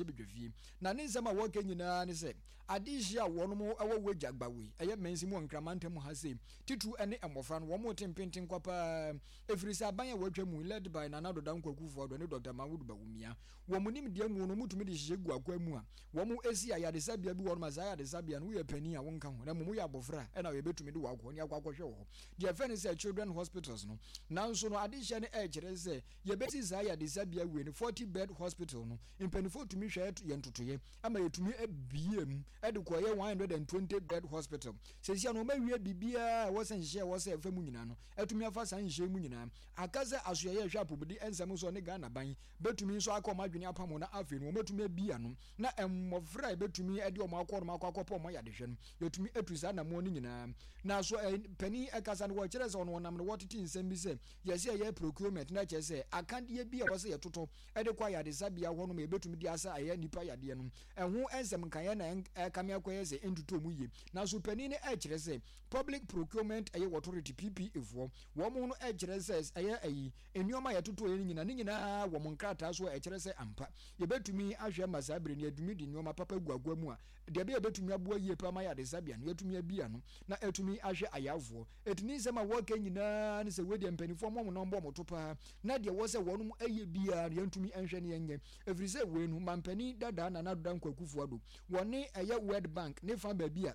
mmarahyɛbadwafie. Na ne nsɛm a wɔka nyinaa ne sɛ adehye a wɔnom wɔ Wagya Gbawe, ɛyɛ mansin mu wɔ Nkran mantam ha sei, titiriw ne mmɔfra no, wɔn te mpenten kwa paa ɛfiri sɛ aban a wɔatwa mu led by Nana Addo Dankwa Akufo-Addo ne Dɔkta Mahmood Bawumia, wɔn nimdeɛ mu no, wɔtumi de hyehyɛ gu akwan mu a wɔsi ayaresabea bi wɔ hɔ nom a saa ayaresabea no woyɛ panin a wonka ho na mmom woyɛ abɔfra a ɛna yɛbɛtumi de wo akɔ ne akɔ akɔhwɛ wɔ hɔ. Deɛ yɛfrɛ no sɛ children hospitals no. Nanso no adehyɛ no ɛrekyerɛ sɛ yɛbɛsi saa ayaresabea wei no 40 bed hospital no mpanimfoɔ tumi hwɛ yɛn ntotoeɛ ama yɛtumi abie mu de kɔyɛ 120 bed hospital. Seesei no wɔawie biribiara a ɛwɔ sɛ nhyehyɛe a ɛwɔ sɛ ɛfa mu nyinaa no atumi afa saa nhyehyɛe mu nyinaa. Aka sɛ asoɛeɛ a ɛhwɛ apɔmuden nsɛm so ne Ghana ban bɛtumi nso aka wɔn adwene apam ho na afei no wɔatumi abie ano na mmɔfra a yɛbɛtumi de wɔn akɔ nom akɔ akɔpɛ wɔn ayadehwɛ no yɛtumi atu saa anamoɔ no nyinaa. Na so panin ɛkasa no wɔkyerɛ sɛ ɔno ɔnam no wɔtete nsɛm bi sɛ yɛsɛ yɛyɛ procurement na kyerɛ sɛ akadeɛ bi a ɛwɔ sɛ yɛtotɔ de kɔ ayaresabea hɔ nom a yɛbɛtumi de asa ɛyɛ nnipa yadeɛ no ɛho nsɛm nkaeɛ na ɛkame akɔyɛ sɛ ɛntutɔ mu yie. Na so panin no ɛkyerɛ sɛ Public Procurement ɛyɛ Authority PPA foɔ wɔn no ɛkyerɛ sɛ ɛyɛ ɛyi nneɛma a yɛtotɔeɛ no nyinaa ne nyinaa wɔ mo nkrataa so a ɛkyerɛ sɛ ampa yɛbɛtumi ahwɛ ma saa bere no yɛatumi de nneɛma papa agu agoa mu a deɛ ɛbɛyɛ yɛbɛtumi aboa yie paa ma ayaresabea no yɛatumi abi ano na atumi ahwɛ ayarefoɔ. Ɛti ne nsɛm a wɔka nyinaa ne sɛ wei deɛ mpanimfoɔ mo wɔn bɔ wɔn to paa na deɛ wɔ sɛ wɔnom ɛyɛ biara no yɛntumi nhwɛ ne yɛnyɛ ɛfiri sɛ wei no mampanin dadaa Nana Addo Dankwa Akufo-Addo wɔne ɛyɛ World Bank ne fa baabi a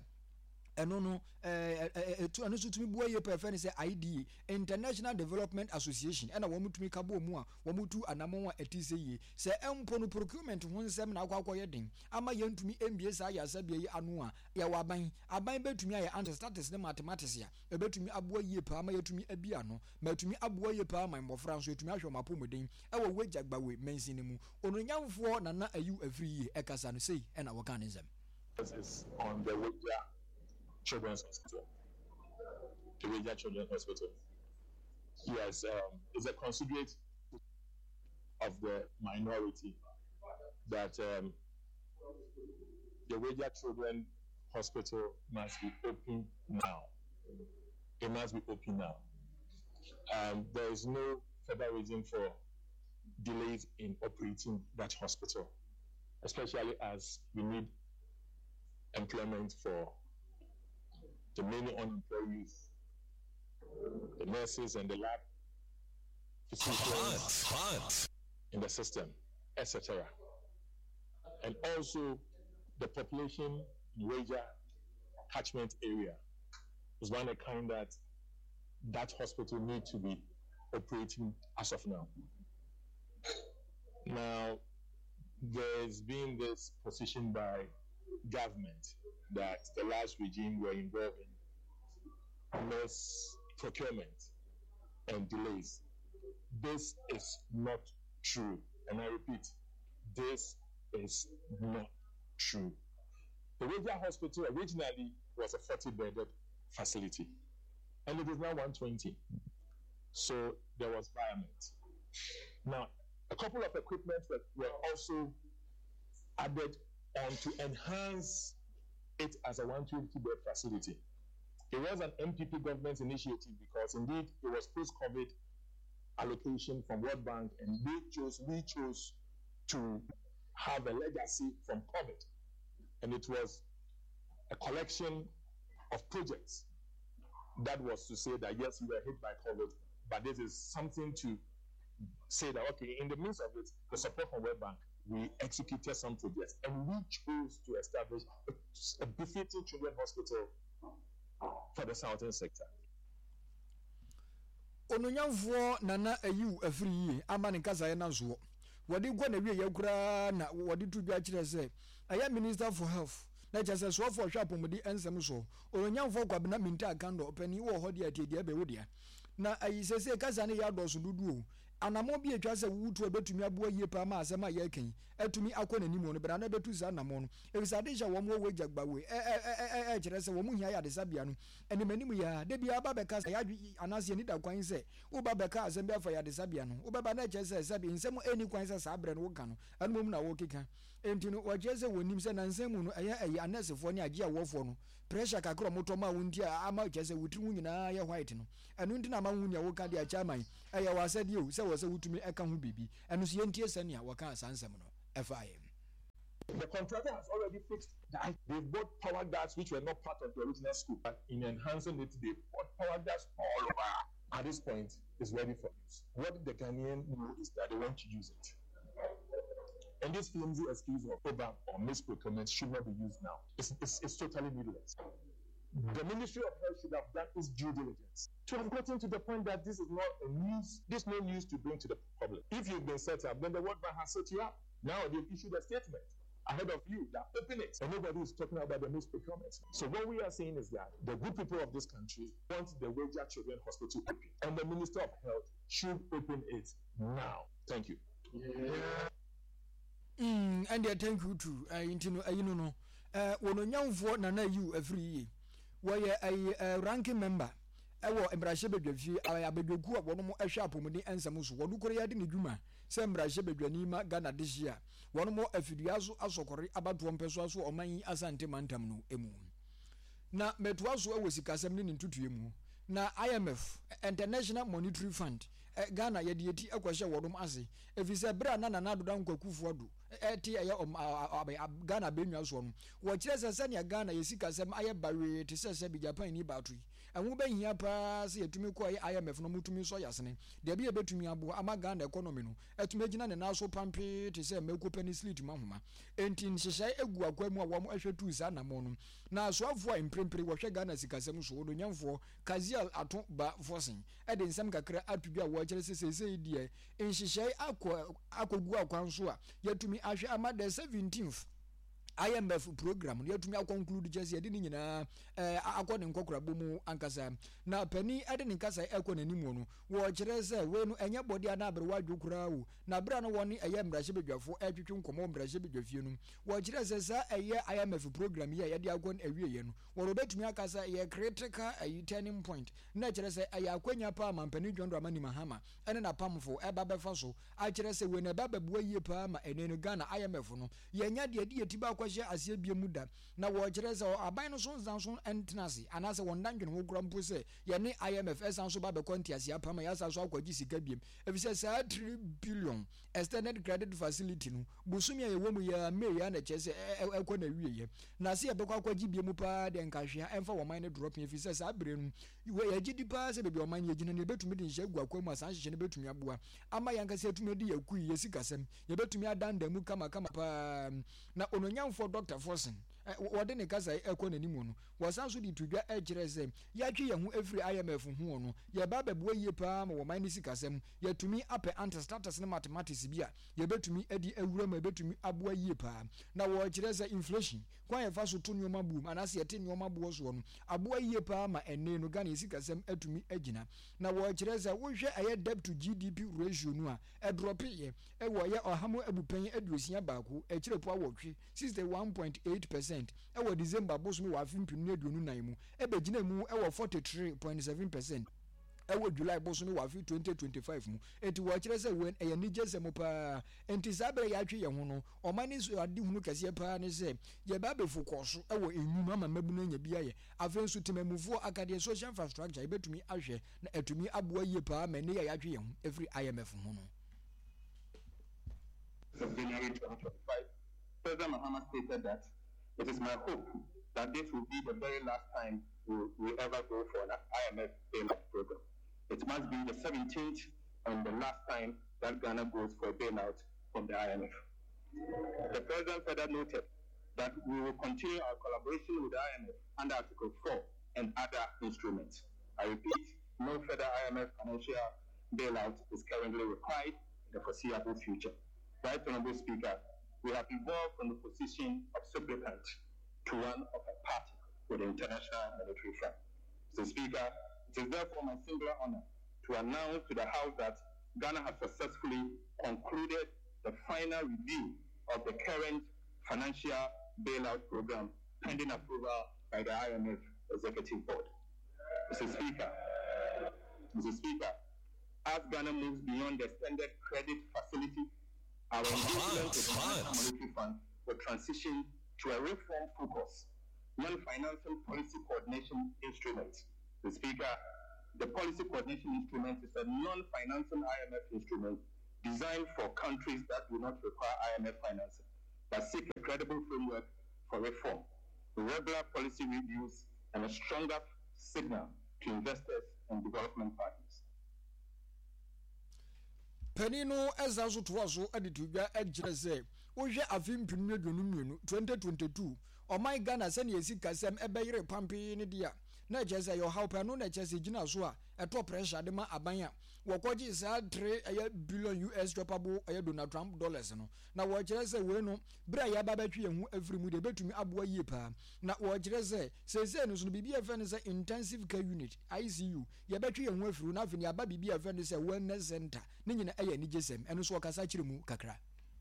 ɛno no ɛtu ɛno nso tumi boa yie paa ɛfɛ no sɛ IDA International Development Association ɛna wɔn tumi ka bɔ mu a wɔn tu anamɔn a ɛte sɛ yie sɛ ɛmpo no procurement ho nsɛm na akɔ akɔyɛ den ama yɛntumi mbie saa yasabea yi ano a yɛwɔ aban aban bɛtumi ayɛ ante statistics ne mathematics a ɛbɛtumi aboa yie paa ma yɛtumi abi ano ma ɛtumi aboa yie paa ma mmɔfra nso ɛtumi ahwɛ wɔn apɔmuden ɛwɔ Wagya Gbawe mansin no mu. Onuonyamfoɔ Nana Ayew Afiri yie ɛkasa no sei ɛna wɔka ne nsɛm. Is on the Weija Children's Hospital. The Weija Children's Hospital. Yes, um, it's a considerate of the minority that um, the Weija Children Hospital must be open now. It must be open now. Um, there is no further reason for delays in operating that hospital, especially as we need employment for the many unemployed youth, the nurses and the lab physicians hot, hot. in the system, etc. And also the population in Weija catchment area is one of the kind that that hospital need to be operating as of now. Now, there's been this position by government that the last regime were involved in mass procurement and delays. This is not true. And I repeat, this is not true. The Weija Hospital originally was a 40 bedded facility, and it is now 120. So there was virement. Now, a couple of equipment were, were also added on to enhance it as a 120 bed facility. It was an NPP government initiative because indeed it was post COVID allocation from World Bank and they chose, we chose to have a legacy from COVID. And it was a collection of projects that was to say that yes, we were hit by COVID, but this is something to say that okay, in the midst of it, the support from World Bank, we executed some projects and we chose to establish a, a befitting children's hospital for the southern sector. Onuonyamfoɔ Nana Ayiw Afiri yie ama ne nkasaeɛ no asoɔ. Wɔde kɔ n'awieeɛ koraa na wɔde to dwa kyerɛ sɛ ɛyɛ Minister for Health na kyerɛ sɛ soafoɔ ɔhwɛ apɔmuden nsɛm soɔ Onuonyamfoɔ Kwabena Mintah Akandoh ɔpanin wɔ hɔ deɛ tie deɛ ɛbɛ wo dea. Na ayi seesei kasa no yɛ adɔɔso dodo o. Anammɔn bi a etwa sɛ wotu a ebetumi aboa yie paa ma asɛm a yɛreka yi atumi akɔ n'anim no, bra na bɛtu saa anammɔn no. Efisɛ ade hyɛ wɔn wɔ w'agya gbawe ɛ ɛ ɛ ɛ ɛkyerɛ sɛ wɔn hia ayaresabea no anim anim yi ara. Da biara ba bɛka sɛ yɛadwe anaasɛ yɛn ani da kwan sɛ woba bɛka asɛm bi afa ayaresabea no ho. Wobɛba na ɛkyerɛ sɛ sɛbe nsɛm a enni kwan sɛ saa bere no woka no, ɛno mmom na worekeka. Enti no, wɔkyerɛ sɛ wɔnim sɛ nnansa mu no ɛyɛ ɛyɛ anɛɛsefoɔ ne agyeawoɔfoɔ no pressure kakra a wɔtɔ maa wo nti a ama kyerɛ sɛ wo tiri ho nyinaa yɛ white no. Ɛno nti na ama wohu nea woka de akyɛ aman. Ɛyɛ w'asɛdeɛ o sɛ wɔ sɛ wotumi ka ho biribi. Ɛno nso yɛntie sɛnea wɔkaa saa nsɛm no faeɛ. The contractor has already fixed that. They've bought power guards which were not part of the original scope. But in enhancing it, they bought power guards all over. At this point, it's ready for use. What the Ghanaian know is that they want to use it. And this flimsy excuse of over or misprocurement should not be used now. It's, it's, it's totally needless. The Ministry of Health should have done its due diligence to have gotten to the point that this is not a news, this no news to bring to the public. If you've been set up, then the World Bank has set you up. Now they've issued a statement ahead of you that open it. And nobody is talking about the misprocurement. So what we are saying is that the good people of this country want the Weija Children Hospital open. And the Minister of Health should open it now. Thank you. Yeah. Mm, ɛndeɛ thank you too. Ɛyi nti no ɛyi no no. Ɛɛ wɔn onyamfoɔ Nana Ayew afiri yie. Wɔyɛ ɛyi ɛɛ ranking member ɛwɔ mmarahyɛbadwafie ɛyɛ abadwakuo a wɔn ɛhwɛ apɔmuden nsɛm so. Wɔn koro yɛ de ne dwuma sɛ mmarahyɛbadwani ma Ghana dehye a wɔn wɔ afidua so asɔkɔre abatoɔ mpɛsoa so ɔman yi Asante mantam no mu. Na mɛtoa so wɔ sikasɛm ne ne ntutuɛ mu. Na IMF, International Monetary Fund, Ghana yɛde yɛti kɔhyɛ wɔnom ase efisɛ bere a na Nana Addo Dankwa Akufo Addo te ɛyɛ Ghana abɛnwa soɔ no, wɔkyerɛ sɛ sɛnea Ghana yɛ sikasɛm ayɛ bawee te sɛ sɛbi Japan ni baato yi, ɛho bɛhia paa sɛ yɛtumi kɔ ɛyɛ IMF no wɔtumi sɔ yɛasene. Deɛ ɛbɛtumi aboa ama Ghana economy no atumi agyina ne nan so pampee te sɛ mako pɛ ne slit mu ahoma. Enti nhyehyɛe gu akwan mu a wɔhwɛ tuu saa anammɔn no. Na asoafoɔ a mprempren wɔhwɛ Ghana sikasɛm so, Odonyamfoɔ Cassiel Ato Ba Forson de nsɛm kakra ato dwa a wɔkyerɛ sɛ seesei deɛ nhyehyɛe akɔ akɔgu akwan so a yɛatumi ahwɛ ama the 17th IMF program no yɛatumi akɔnklude kyerɛ sɛ yɛde ne nyinaa eh, akɔ ne nkɔkorabɔ mu ankasa. Na panin de ne nkasa ɛkɔ n'anim no, wɔkyerɛ sɛ wei no ɛnyɛ bɔde anaa aberewa adwo koraa o. Na berɛ a na wɔne ɛyɛ mmarahyɛbadwafoɔ ɛretwetwe nkɔmmɔ wɔ mmarahyɛbadwafie no, wɔkyerɛ sɛ saa ɛyɛ IMF program yi a yɛde akɔ no awieɛ no, wɔbɛtumi aka sɛ ɛyɛ critical ɛyi turning point, na ɛkyerɛ sɛ ɛyɛ akwanya paa ma Mpanin John Dramani Mahama ɛne n'apamfo ɛba bɛfa so akyerɛ sɛ wei no ɛba bɛboa yie paa ma ɛnɛ no Ghana IMF no yɛnya deɛ ɛde yɛn ti ba akɔhyɛ aseɛ bie mu da. Na wɔkyerɛ sɛ aban no so nsan so ntena ase anaasɛ wɔn da ndwene ho koraa mpo sɛ yɛne IMF ɛsan so ba bɛkɔ nteaseɛ apam a yɛasan so akɔgye sika biem efisɛ saa 3 billion extended credit facility no bosome a yɛwɔ mu yi ara May ara na ɛkyerɛ sɛ ɛkɔ n'awieɛ na sɛ yɛbɛkɔ akɔgye biem paa deɛ nka hwee a ɛmfa wɔn man no drɔpin efisɛ saa bere no yɛgye di paa sɛ baabi a ɔman no yɛgyina no yɛbɛtumi de nhyɛ agu akwan mu a saa nhyehyɛ no bɛtumi aboa ama yɛn ankasa yɛatumi adi yɛn akui yɛn sikasɛm yɛbɛtumi adandan mu kamakama paa na ononyamfoɔ Dr. Forson wɔde ne kasa ɛkɔ n'anim no wɔsan so de to dwa kyerɛ sɛ yɛatwe yɛn ho afiri IMF ho no yɛba abɛboa yie paa ma wɔman no sikasɛm yɛatumi apɛ antistatus ne mathematics bi a yɛbɛtumi de awura mu a ɛbɛtumi aboa yie paa na wɔkyerɛ sɛ inflation kwan a yɛfa so to nneɛma boɔ mu anaasɛ yɛte nneɛma boɔ soɔ no aboa yie paa ma ɛnne no Ghana yɛ sikasɛm atumi agyina na wɔkyerɛ sɛ wohwɛ ɛyɛ debt to GDP ratio no a ɛdrɔpeeɛ ɛwɔ ɛyɛ ɔha mu abupɛn 61 akyirepɔ awɔtwe, 61.8 percent, ɛwɔ December bosome wɔ afe 2024 mu ɛbɛgyina mu ɛwɔ 43.7 percent ɛwɔ July bosome wɔ afe 2025 mu. Enti wɔkyerɛ sɛ wei ɛyɛ anigyesɛm paa. Enti saa berɛ yɛatwe yɛn ho no, ɔman no nso adehunu kɛseɛ paa ne sɛ yɛba abɛfokɔ so wɔ nnwuma ama mmabunu anya bi ayɛ. Afei nso temanmufoɔ akadeɛ, social infrastructure, yɛbɛtumi ahwɛ na atumi aboa yie paa ma ɛnnɛ yi a yɛatwe yɛn ho afiri IMF ho no. Of January 2025, President Mahama stated that it is my hope that this will be the very last time we, we ever go for an IMF bailout program. It must be the 17th and the last time that Ghana goes for a bailout from the IMF. The President further noted that we will continue our collaboration with the IMF under Article 4 and other instruments. I repeat, no further IMF financial bailout is currently required in the foreseeable future. Right Honorable Speaker, we have evolved from the position of supplicant to one of a party with the International Monetary Fund. Mr. Speaker, it is therefore my singular honor to announce to the House that Ghana has successfully concluded the final review of the current financial bailout program pending approval by the IMF Executive Board. Mr. Speaker, Mr. Speaker, as Ghana moves beyond the extended credit facility, our engagement with the International Monetary Fund will transition to a reform focus, non-financing policy coordination instrument. Mr. Speaker, the policy coordination instrument is a non-financing IMF instrument designed for countries that do not require IMF financing. but seek a credible framework for reform, regular policy reviews, and a stronger signal to investors and development partners. Panin no san nso toa so de to dwa kyerɛ sɛ wohwɛ afe 2022, 2022, ɔman Ghana sɛnea sikasɛm bɛyere pampee no deɛ a, na ɛkyerɛ sɛ ɛyɛ ɔhaw paa. Ɛno na ɛkyerɛ sɛ ɛgyina so a ɛtɔ pressure de ma aban a wɔkɔgye saa 3 ɛyɛ billion US choppable ɛyɛ Donald Trump dollars no. Na wɔkyerɛ sɛ wei no, bere a yɛaba abɛtwe yɛn ho afiri mu deɛ, ɛbɛtumi aboa yie paa. Na wɔkyerɛ sɛ seesei no so no, biribi a yɛfrɛ no sɛ Intensive Care Unit, ICU, yɛbɛtwe yɛn ho afiri hɔ na afei no yɛaba biribi a yɛfrɛ no sɛ Wellness Center. Ne nyinaa ɛyɛ anigyesɛm. Ɛno nso wɔkasa kyerɛ mu kakra.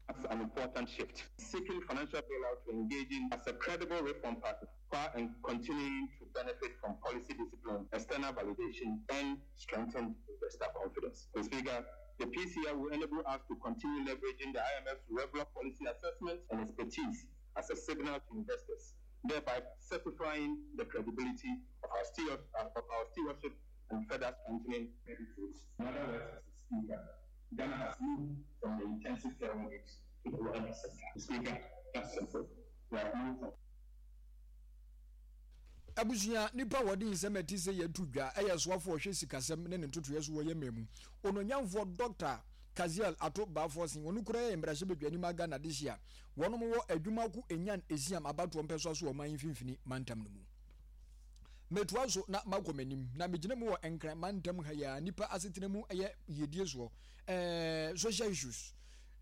That's an important shift. Seeking financial bailout to engaging as a credible reform partner while and continuing to benefit from policy discipline, external validation, and strengthened investor confidence. Mr. Speaker, the PCI will enable us to continue leveraging the IMF's regular policy assessment and expertise as a signal to investors, thereby certifying the credibility of our, steward, of our stewardship and further strengthening credit rates. In other words, Mr. Speaker, Ghana has moved from the intensive care unit to the wellness center. Mr. Speaker, that's simple. We have moved from Abusua nipa a wɔde nsɛm a ɛte sɛ yi ato dwa yɛ soafo a ɔhwɛ sikasɛm ne ne ntotoeɛ so wɔ yɛn man mu, Onuonyamfoɔ Dɔkta Cassiel Ato Baffour-Singh. Ɔno koraa yɛ mmarahyɛbadwani ma Ghana dehye a wɔnom wɔ Adwumako Enyan Esiam abatoɔ mpɛsoa so wɔ ɔman yi mfimfini mantam no mu. Metoa so na makɔ m'anim na megyina mu wɔ Nkran mantam ha yi ara nnipa asetena mu ɛyɛ yiedie soɔ, ɛɛ social issues,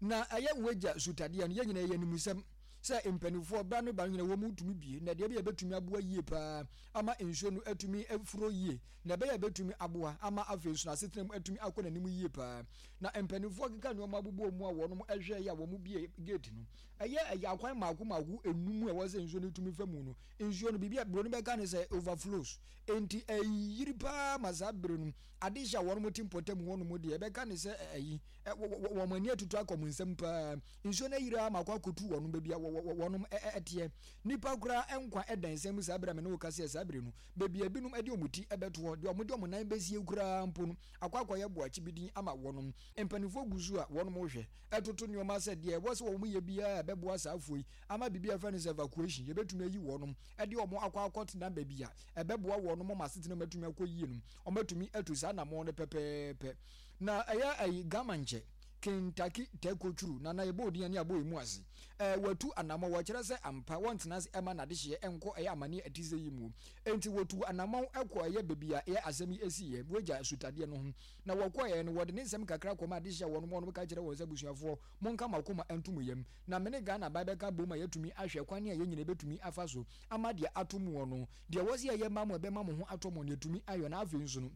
na ɛyɛ wagya sutadeɛ no yɛn nyinaa yɛ animusɛm. sɛ mpanimfoɔ berɛ ano ba no nyina wɔn tumi bie na deɛ ɛbɛyɛ bɛtumi aboa yie paa ama nsuo no atumi afuro yie na ɛbɛyɛ bɛtumi aboa ama afei nso n'asetena mu atumi akɔ n'anim yie paa na mpanimfoɔ keka nneɛma abobɔ mu a wɔn ɛhwɛ yɛ a wɔn bie gate no ɛyɛ ɛyɛ akwan mako mako enum a ɛwɔ sɛ nsuo no tumi fa mu no nsuo no biribi a buroni bɛka ne sɛ overflows enti ɛyiri paa ma saa bere no adehyɛ a wɔn te mpɔtam hɔ nom deɛ ɛbɛka ne sɛ ɛyi wɔn ani atutu akɔ wɔn nsam paa Nsuo no ayiri ara ma akɔ akɔtu wɔnom baabi a wɔnom teɛ. Nnipa koraa nkwa da nsɛm mu saa berɛ a me ne wo kasa yi, saa berɛ no, baabi a ebinom de wɔn ti bɛtoɔ, deɛ wɔde wɔn nan bɛsie koraa mpo no, akɔ akɔyɛ boakye bi din ama wɔnom. Mpanimfoɔ gu so a wɔnom rehwɛ, toto nneɛma sɛ deɛ ɛwɔ sɛ wɔyɛ biara a ɛbɛboa saa afoɔ yi ama biribi a yɛfrɛ no sɛ evacuation, yɛbɛtumi ayi wɔnom de wɔn akɔ akɔtena baabi a ɛbɛboa wɔnom ma asetena mu atumi akɔ yie no, wɔatumi atu saa anammɔn no pɛpɛɛpɛ. Na ɛyɛ ayi Gama nkyɛ. Kentucky Tɛkotwuru, na na yɛbɔ odin a ne abɔ emu ase. Ɛɛ, wɔatu anammɔn, wɔkyerɛ sɛ ampa wɔntena ase mma n'adehyeɛ nkɔ ɛyɛ amanneɛ a ɛte sɛ yi mu. Enti wɔtuu anammɔn kɔɔ ɛyɛ baabi a ɛyɛ asɛm yi siiɛ, Voyager asutadeɛ no ho. Na wɔkɔeɛ no, wɔde ne nsɛm kakra kɔmaa adehyeɛ a wɔnom wɔnom ka kyerɛɛ wɔn sɛ, Abusuafoɔ, monka mo akoma nto mo yam, na me ne Ghana aban bɛka abom a yɛatumi ahwɛ kwan a yɛn nyinaa yɛbɛtumi afa so ama deɛ ato moɔ no, deɛ ɛwɔ sɛ yɛyɛ ma mo a ɛbɛma mo ho atɔ mo no, yɛatumi ayɔ. Na afei nso no,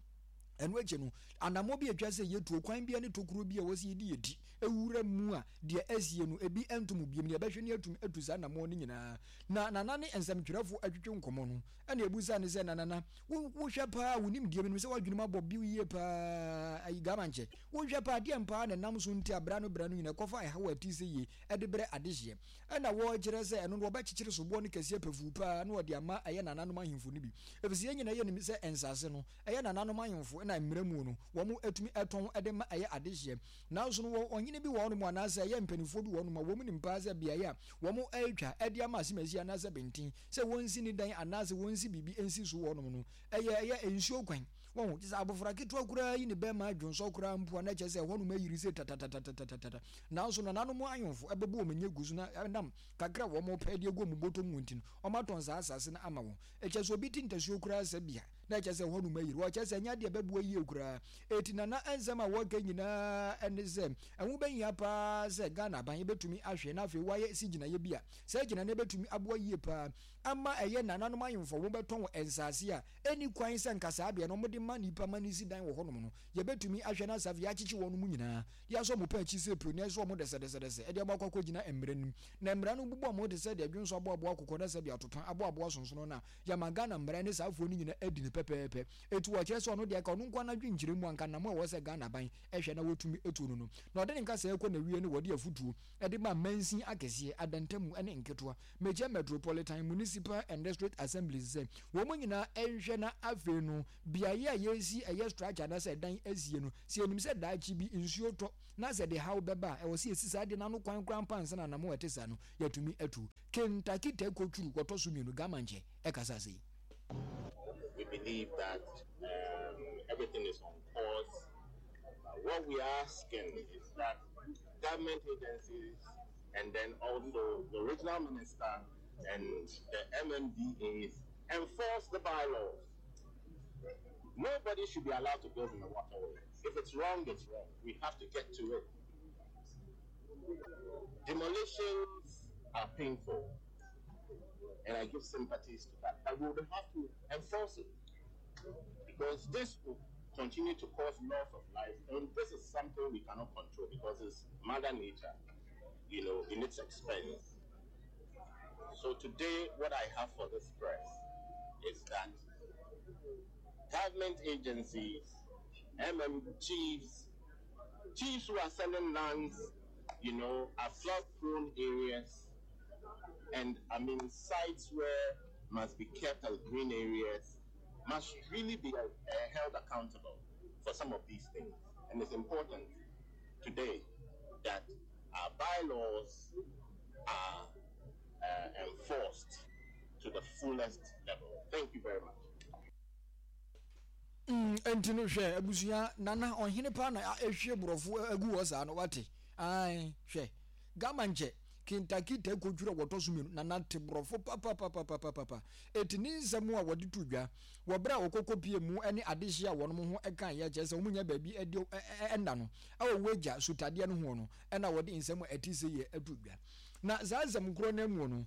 Ɛno akyi no, anammɔn bi a etwa sɛ yetu, ɔkwan bi ne tokuro bi a ɛwɔ sɛ yɛde yɛn ti wura mu a deɛ asie no, ebi nto mu bio. Nea ɛbɛhwɛ ne atumi atu saa anammɔn no nyinaa. Na Nana ne nsɛmtwerɛfoɔ atwetwe nkɔmmɔ no, ɛna ɛbusaa no sɛ, Na Nana, wo, wohwɛ paa, wo nimdeɛ, menim sɛ w'adwene mu abɔ biw yie paa, ayi Gama nkyɛ, wohwɛ paa, deɛn paa na ɛnam so nti a berɛ ano berɛ ano nyinaa ɛkɔfa ɛhaw a ɛte sɛ yei de brɛ adehyeɛ? Ɛna wɔkyerɛ sɛ ɛno no wɔbɛkyekyere soboɔ no kɛseɛ pafuu paa na wɔde ama ɛyɛ nananom ahemfo no bi, ɛfiri sɛ yɛn nyinaa yɛnim sɛ nsase no, ɛyɛ nananom ahemfo na mmara mu no wɔn tumi tɔn de ma ɛyɛ adehyeɛ. Nanso no wɔ ɔhene bi wɔ hɔnom anaasɛ ɛyɛ mpanimfoɔ bi wɔ hɔnom a wɔn nim paa sɛ beaeɛ a wɔn retwa de ama asemasi anaasɛ benten sɛ wɔnsi ne dan anaasɛ wɔnsi biribi nsi so wɔ hɔnom no ɛyɛ ɛyɛ nsuo kwan. Wɔn kyɛ sɛ abɔfra ketewa koraa yi ne bɛrima adwonsɔ koraa mpo a na kyerɛ sɛ ɛhɔnom ayiri sɛ tatatatatata. Nanso nananom ahemfo ɛbɛbɔ wɔn ani agu so na ɛnam kakra a wɔn pɛ de agu wɔn bɔtɔ mu nti no wɔatɔn saa asase no ama wɔn. Ɛkyɛ sɛ obi te ntasuo koraa sɛ bea na ɛkyerɛ sɛ ɛhɔnom ayiri. Wɔkyerɛ sɛ ɛnyɛ adeɛ a ɛbɛboa yie koraa. Enti Nana nsɛm a wɔka nyinaa ne sɛ ɛho bɛhia paa sɛ Ghana aban bɛtumi ahwɛ na afei wɔayɛ si gyinaeɛ bi a saa gyinaeɛ no bɛtumi aboa yie paa ama ɛyɛ nananom ahemfo a wɔbɛtɔn nsaase a ɛnni kwan sɛ nka saa beaɛ no wɔde ma nnipa ma no si dan wɔ hɔnom no. Yɛbɛtumi ahwɛ na saa afei yɛakyekye wɔnom nyinaa de asɔ wɔn pɛ akyi sɛ pio na ɛsɔ wɔn dɛsɛdɛsɛdɛsɛ de wɔn akɔ akɔgyina mmara no mu na mmara no bobɔ wɔn te sɛ deɛ dwonsɔ aboaboa akokɔ na sɛdeɛ atopa aboaboa sonsono no a yɛama Ghana mmara ne saa afoɔ no nyinaa adi no pɛpɛɛpɛ. pɛpɛɛpɛ. Enti wɔkyerɛ sɛ ɔno deɛ ka ɔno nko ara n'adwenkyerɛ mu anka nnam a ɛwɔ sɛ Ghana aban hwɛ na wɔtumi tu no no. Na ɔde ne nkasɛɛ kɔ n'awie no wɔde afutuo de ma mansin akɛseɛ, adantamu ne nketewa, Mekyɛ Metropolitan Municipal and District Assemblies sɛ wɔn nyinaa nhwɛ na afei no beaeɛ a yɛresi ɛyɛ structure anaasɛ ɛdan asie no sɛ yɛnim sɛ daakye bi nsuo tɔ na sɛ de haw bɛba a ɛwɔ sɛ yɛsi saa adeɛ no ano kwan koraa mpo ansa na anamɔ a ɛte saa no yɛatumi atu. Kentucky Tɛkotwuru wɔtɔ so mmienu Gamankyɛ ɛkasa sei. We believe that um, everything is on course. Uh, what we are asking is that government agencies and then also the regional minister and the MMDAs enforce the bylaws. Nobody should be allowed to build in the waterway. If it's wrong, it's wrong. We have to get to it. Demolitions are painful, and I give sympathies to that. But we would have to enforce it because this will continue to cause loss of life, and this is something we cannot control because it's Mother Nature, you know, in its expense. So today, what I have for this press is that government agencies, chiefs, chiefs who are selling lands, you know, are flood-prone areas, and I mean sites where must be kept as green areas, must really be uh, held accountable for some of these things. And it's important today that our bylaws are uh, enforced to the fullest level. Thank you very much. Mm, enti no hwɛ abusua nana ɔhene paa na ehwie borɔfo agu hɔ saa no wate ae hwɛ gama nkyɛ kintakita kotwura wɔtɔ so mmienu nana te borɔfo papapapapapa eti ne nsɛm a wɔde to dwa wɔ berɛ a wɔkɔkɔ pie mu ne adehye a wɔn ho ɛka yɛ kyerɛ sɛ wɔn nya baabi ɛde ɛnna no ɛwɔ wagya sutadeɛ no ho no ɛna wɔde nsɛm a ɛte sɛ yɛ ato dwa na saa nsɛm korɔ no mu no.